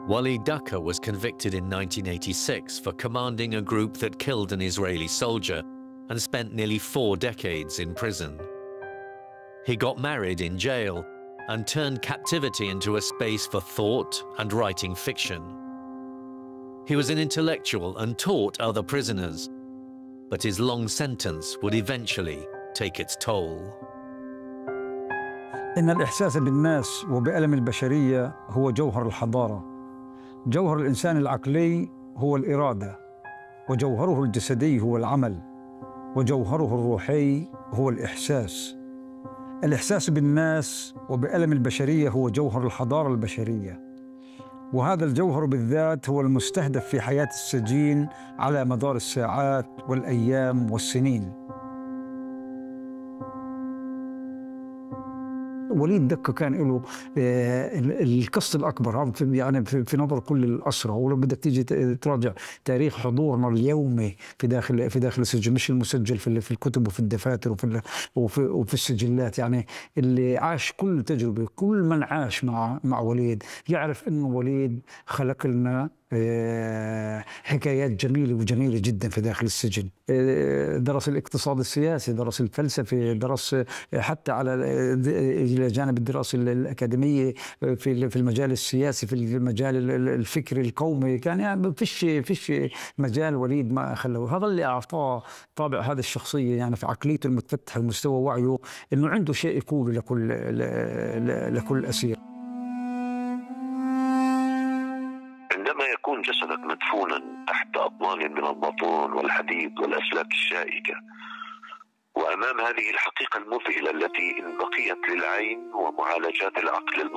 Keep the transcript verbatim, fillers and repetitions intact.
Walid Daqqa was convicted in nineteen eighty-six for commanding a group that killed an Israeli soldier and spent nearly four decades in prison. He got married in jail and turned captivity into a space for thought and writing fiction. He was an intellectual and taught other prisoners, but his long sentence would eventually take its toll. إن الإحساس بالناس وبألم البشرية هو جوهر الحضارة. جوهر الإنسان العقلي هو الإرادة، وجوهره الجسدي هو العمل، وجوهره الروحي هو الإحساس. الإحساس بالناس وبألم البشرية هو جوهر الحضارة البشرية، وهذا الجوهر بالذات هو المستهدف في حياة السجين على مدار الساعات والأيام والسنين. وليد دقة كان له القصة الأكبر يعني في نظر كل الأسرى، ولو بدك تيجي تراجع تاريخ حضورنا اليومي في داخل في داخل السجن، مش المسجل في في الكتب وفي الدفاتر وفي وفي, وفي السجلات، يعني اللي عاش كل تجربة، كل من عاش مع مع وليد يعرف إنه وليد خلق لنا حكايات جميلة وجميلة جدا في داخل السجن. درس الاقتصاد السياسي، درس الفلسفة، درس حتى على إلى جانب الدراسة الأكاديمية في في المجال السياسي، في المجال الفكري القومي، كان يعني فيش فيش مجال وليد ما خلوه. هذا اللي أعطاه طابع هذا الشخصية، يعني في عقليته المتفتحة ومستوى وعيه، إنه عنده شيء يقوله لكل لكل أسير. عندما يكون جسدك مدفونا تحت أطنان من البطون والحديد والأسلاك الشائكة، وأمام هذه الحقيقة المذهلة التي إن بقيت للعين ومعالجات العقل